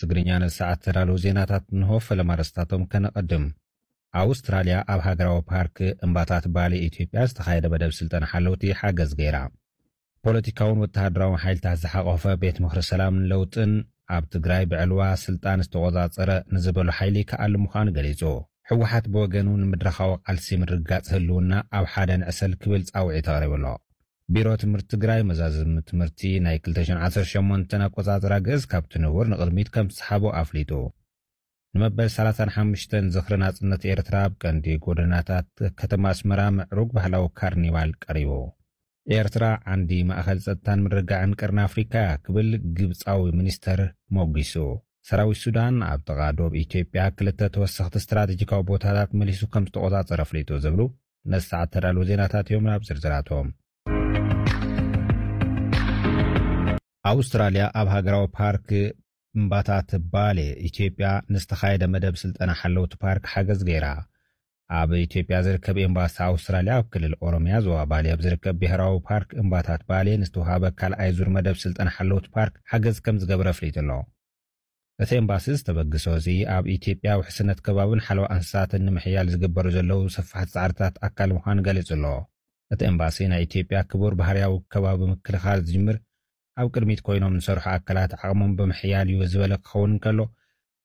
ትግርኛ ነዚ ሰዓት ተዳለዉ ዜናታት እንሆ። ፈለማ ኣርእስታቶም ከነቐድም። ኣውስትራልያ ኣብ ሃገራዊ ፓርክ እምባታት ባሌ ኢትዮጵያ ዝተኻየደ መደብ ስልጠና ሓለውቲ ሓገዝ ገይራ። ፖለቲካውን ወተሃደራውን ሓይልታት ዝሓቖፈ ቤት ምኽሪ ሰላምን ለውጥን ኣብ ትግራይ ብዕልዋ ስልጣን ዝተቖጻጸረ ንዝበሉ ሓይሊ ክኣሊ ምዃኑ ገሊጹ። ህወሓት ብወገኑ ንምድረኻዊ ቃልሲ ምርግጋጽ ህልውና ኣብ ሓደ ንዕሰል ክብል ጻውዒት ኣቕሪቡ ኣሎ። ቢሮ ትምህርቲ ትግራይ መዛዝም ትምህርቲ ናይ ክልተ ሽሕን ዓሰርተ ሸሞንተን ኣቆጻጽራ ግእዝ ካብቲ ንቡር ንቕድሚት ከም ዝሰሓቦ ኣፍሊጡ። ንመበል ሰላሳን ሓሙሽተን ዝኽሪ ናጽነት ኤርትራ ኣብ ቀንዲ ጎደናታት ከተማ ኣስመራ ምዕሩግ ባህላዊ ካርኒቫል ቀሪቡ። ኤርትራ ዓንዲ ማእኸል ጸጥታን ምርግጋዕን ቀርኒ ኣፍሪካ እያ ክብል ግብጻዊ ሚኒስተር ሞጒሱ። ሰራዊት ሱዳን ኣብ ጥቓ ዶብ ኢትዮጵያ ክልተ ተወሰኽቲ ስትራቴጂካዊ ቦታታት መሊሱ ከም ዝተቖጻጸረ ኣፍሊጡ ዝብሉ ነዚ ሰዓት ተዳለዉ ዜናታት እዮም። ናብ ዝርዝራቶም። ኣውስትራልያ ኣብ ሃገራዊ ፓርክ እምባታት ባሌ ኢትዮጵያ ንዝተኻየደ መደብ ስልጠና ሓለውቲ ፓርክ ሓገዝ ገይራ። ኣብ ኢትዮጵያ ዝርከብ ኤምባሲ ኣውስትራልያ ኣብ ክልል ኦሮሚያ ዞባ ባሌ ኣብ ዝርከብ ብሄራዊ ፓርክ እምባታት ባሌ ንዝተዋሃበ ካልኣይ ዙር መደብ ስልጠና ሓለውቲ ፓርክ ሓገዝ ከም ዝገበረ ኣፍሊጡ ኣሎ። እቲ ኤምባሲ ዝተበግሶ እዚ ኣብ ኢትዮጵያ ውሕስነት ከባብን ሓለዋ እንስሳትን ንምሕያል ዝግበሩ ዘለዉ ሰፋሕቲ ጻዕርታት ኣካል ምዃኑ ገሊጹ ኣሎ። እቲ ኤምባሲ ናይ ኢትዮጵያ ክቡር ባህርያዊ ከባቢ ምክልኻል ዝጅምር ኣብ ቅድሚት ኮይኖም ዝሰርሑ ኣካላት ዓቕሞም ብምሕያል እዩ ዝበለ ክኸውን እንከሎ፣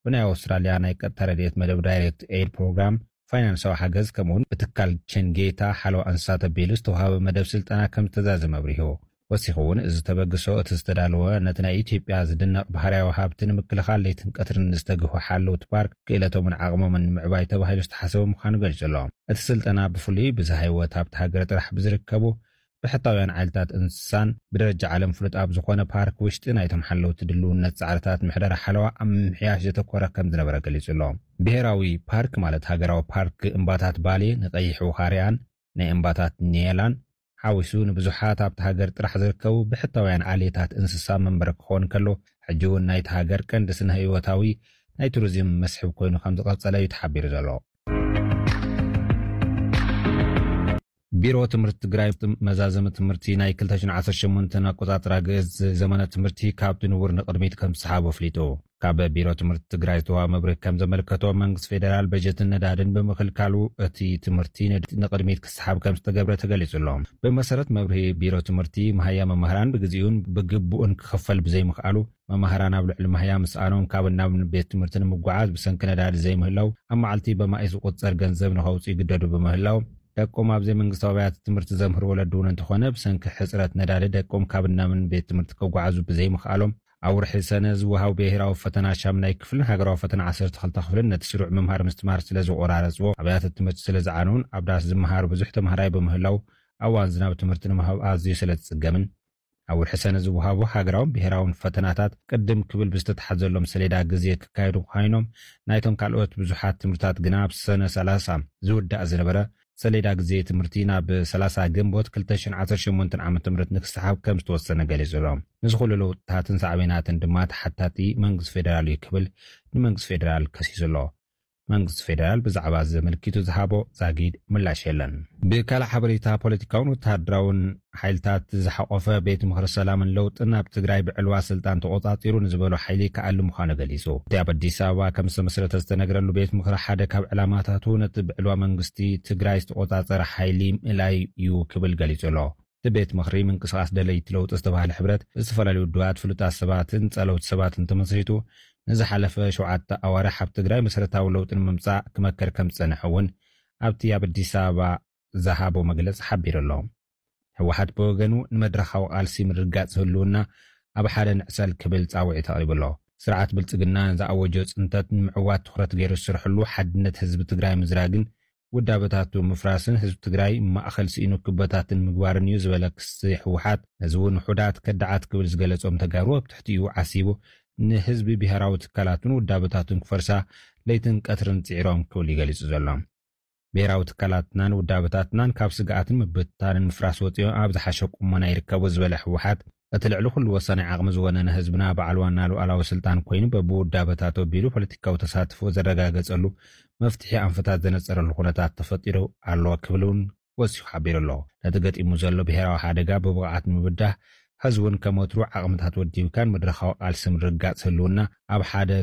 ብናይ ኣውስትራልያ ናይ ቀጥታ ረድኤት መደብ ዳይሬክት ኤድ ፕሮግራም ፋይናንሳዊ ሓገዝ ከምኡውን ብትካል ቸንጌታ ሓለዋ እንስሳት ኣቢሉ ዝተዋሃበ መደብ ስልጠና ከም ዝተዛዘመ ኣብሪሁ። ወሲኹ እውን እዚ ተበግሶ እቲ ዝተዳለወ ነቲ ናይ ኢትዮጵያ ዝድነቕ ባህርያዊ ሃብቲ ንምክልኻል ለይትን ቀትርን ዝተግሁ ሓለውቲ ፓርክ ክእለቶምን ዓቕሞምን ንምዕባይ ተባሂሉ ዝተሓሰበ ምዃኑ ገሊጹ ኣሎ። እቲ ስልጠና ብፍሉይ ብዝሃ ህይወት ሃብቲ ሃገር ጥራሕ ብዝርከቡ ብሕታውያን ዓይነታት እንስሳን ብደረጃ ዓለም ፍሉጥ ኣብ ዝኾነ ፓርክ ውሽጢ ናይቶም ሓለውቲ ድልውነት ጻዕርታት ምሕደራ ሓለዋ ኣብ ምምሕያሽ ዘተኮረ ከም ዝነበረ ገሊጹ ኣሎ። ብሄራዊ ፓርክ ማለት ሃገራዊ ፓርክ እምባታት ባሌ ንቀይሕ ውኻርያን ናይ እምባታት ኒየላን ሓዊሱ ንብዙሓት ኣብቲ ሃገር ጥራሕ ዝርከቡ ብሕታውያን ዓሌታት እንስሳ መንበሪ ክኸውን ከሎ፣ ሕጂ እውን ናይቲ ሃገር ቀንዲ ስነ ህይወታዊ ናይ ቱሪዝም መስሕብ ኮይኑ ከም ዝቐጸለ እዩ ተሓቢሩ ዘሎ። ቢሮ ትምህርቲ ትግራይ መዛዘሚ ትምህርቲ ናይ ክልተ ሽሕን ዓሰርተ ሸሞንተን ኣቆጻጽራ ግእዝ ዘመነ ትምህርቲ ካብቲ ንቡር ንቕድሚት ከም ዝሰሓቦ ኣፍሊጡ። ካብ ቢሮ ትምህርቲ ትግራይ ዝተዋሃበ መብርሂ ከም ዘመልከቶ፣ መንግስቲ ፌደራል በጀትን ነዳድን ብምኽልካሉ እቲ ትምህርቲ ንድ-፣ ንቕድሚት ክሰሓብ ከም ዝተገብረ ተገሊጹ ኣሎ። ብመሰረት መብርሂ ቢሮ ትምህርቲ፣ መሃያ መምህራን ብግዜኡን ብግቡእን ክኽፈል ብዘይምኽኣሉ፣ መማህራን ኣብ ልዕሊ ማህያ ምስኣኖም ካብ ናብ ቤት ትምህርቲ ንምጉዓዝ ብሰንኪ ነዳዲ ዘይምህላው ኣብ መዓልቲ በማኢ ዝቑጸር ገንዘብ ንኸውፅኡ ይግደዱ ብምህላው፣ ደቆም ኣብ ዘይመንግስታዊ ኣብያተ ትምህርቲ ዘምህሩ ወለዲ እውን እንተኾነ ብሰንኪ ሕፅረት ነዳዲ ደቆም ካብ ናምን ቤት ትምህርቲ ክጓዓዙ ብዘይምኽኣሎም፣ ኣብ ወርሒ ሰነ ዝወሃብ ብሄራዊ ፈተና ሻምናይ ክፍልን ሃገራዊ ፈተና ዓሰርተ ክልተ ክፍልን ነቲ ስሩዕ ምምሃር ምስትምሃር ስለ ዝቆራረፅዎ፣ ኣብያተ ትምህርቲ ስለ ዝዓነውን ኣብ ዳስ ዝመሃር ብዙሕ ተምሃራይ ብምህላው፣ ኣብ እዋን ዝናብ ትምህርቲ ንምሃብ ኣዝዩ ስለ ዝፅገምን፣ ኣብ ወርሒ ሰነ ዝወሃቡ ሃገራውን ብሄራውን ፈተናታት ቅድም ክብል ብዝተተሓዘሎም ሰሌዳ ግዜ ክካየዱ ኮይኖም፣ ናይቶም ካልኦት ብዙሓት ትምህርታት ግና ኣብ ሰነ ሰላሳ ዝውዳእ ዝነበረ ሰሌዳ ግዜ ትምህርቲ ናብ ሰላሳ ግንቦት ክልተ ሽሕን ዓሰርተ ሸሞንተን ዓመተ ምህረት ንክሰሓብ ከም ዝተወሰነ ገሊጹ ኣሎ። ንዚ ኩሉ ለውጥታትን ሳዕቤናትን ድማ ተሓታቲ መንግስቲ ፌደራል እዩ ክብል ንመንግስቲ ፌደራል ከሲሱ ኣሎ። መንግስቲ ፌደራል ብዛዕባ እዚ ዘመልኪቱ ዝሃቦ ዛጊድ ምላሽ የለን። ብካልእ ሓበሬታ፣ ፖለቲካውን ወተሃደራውን ሓይልታት ዝሓቖፈ ቤት ምኽሪ ሰላምን ለውጥን ኣብ ትግራይ ብዕልዋ ስልጣን ተቖጻጺሩ ንዝበሎ ሓይሊ ክኣሊ ምዃኑ ገሊጹ። እቲ ኣብ ኣዲስ ኣበባ ከም ዝተመስረተ ዝተነግረሉ ቤት ምኽሪ ሓደ ካብ ዕላማታቱ ነቲ ብዕልዋ መንግስቲ ትግራይ ዝተቖጻጸረ ሓይሊ ምእላይ እዩ ክብል ገሊጹ ኣሎ። እቲ ቤት ምኽሪ ምንቅስቓስ ደለይቲ ለውጢ ዝተባህለ ሕብረት ብዝተፈላለዩ ውድባት፣ ፍሉጣት ሰባትን ጸለውቲ ሰባትን ተመስሪቱ ንዝሓለፈ ሸውዓተ ኣዋርሕ ኣብ ትግራይ መሰረታዊ ለውጢ ንምምጻእ ክመክር ከም ዝጸንሐ እውን ኣብቲ ኣብ ኣዲስ ኣበባ ዝሃቦ መግለጺ ሓቢሩ ኣሎ። ህወሓት ብወገኑ ንመድረኻዊ ቃልሲ ምርግጋጽ ህልውና ኣብ ሓደ ንዕሰል ክብል ጻውዒት ኣቕሪቡ ኣሎ። ስርዓት ብልጽግና ንዝኣወጆ ጽንተት ንምዕዋት ትኹረት ገይሩ ዝሰርሐሉ ሓድነት ህዝቢ ትግራይ ምዝራግን ውዳበታቱ ምፍራስን ህዝቢ ትግራይ ማእኸል ስኢኑ ክበታትን ምግባርን እዩ ዝበለ ክሲ ህወሓት፣ ነዚ እውን ውሑዳት ከዳዓት ክብል ዝገለጾም ተጋሩ ኣብ ትሕቲኡ ዓሲቡ ንህዝቢ ብሄራዊ ትካላቱን ውዳበታቱን ክፈርሳ ለይትን ቀትርን ጽዒሮም ክብል እዩ ገሊጹ ዘሎ። ብሄራዊ ትካላትናን ውዳበታትናን ካብ ስግኣትን ምብትታንን ምፍራስ ወፂኦም ኣብ ዝሓሸ ቁመና ይርከቡ ዝበለ ህወሓት፣ እቲ ልዕሊ ኩሉ ወሳኒ ዓቕሚ ዝወነነ ህዝብና ብዓልዋና ሉዓላዊ ስልጣን ኮይኑ በብውዳበታቱ ኣቢሉ ፖለቲካዊ ተሳትፎ ዘረጋገፀሉ መፍትሒ ኣንፈታት ዘነፀረሉ ኩነታት ተፈጢሩ ኣሎ ክብል እውን ወሲኹ ሓቢሩ ኣሎ። ነቲ ገጢሙ ዘሎ ብሄራዊ ሓደጋ ብብቕዓት ንምብዳህ፣ ሕዚ እውን ከም ወትሩ ዓቕምታት ወዲብካን መድረኻዊ ቃልሲ ምርግጋፅ ህልውና ኣብ ሓደ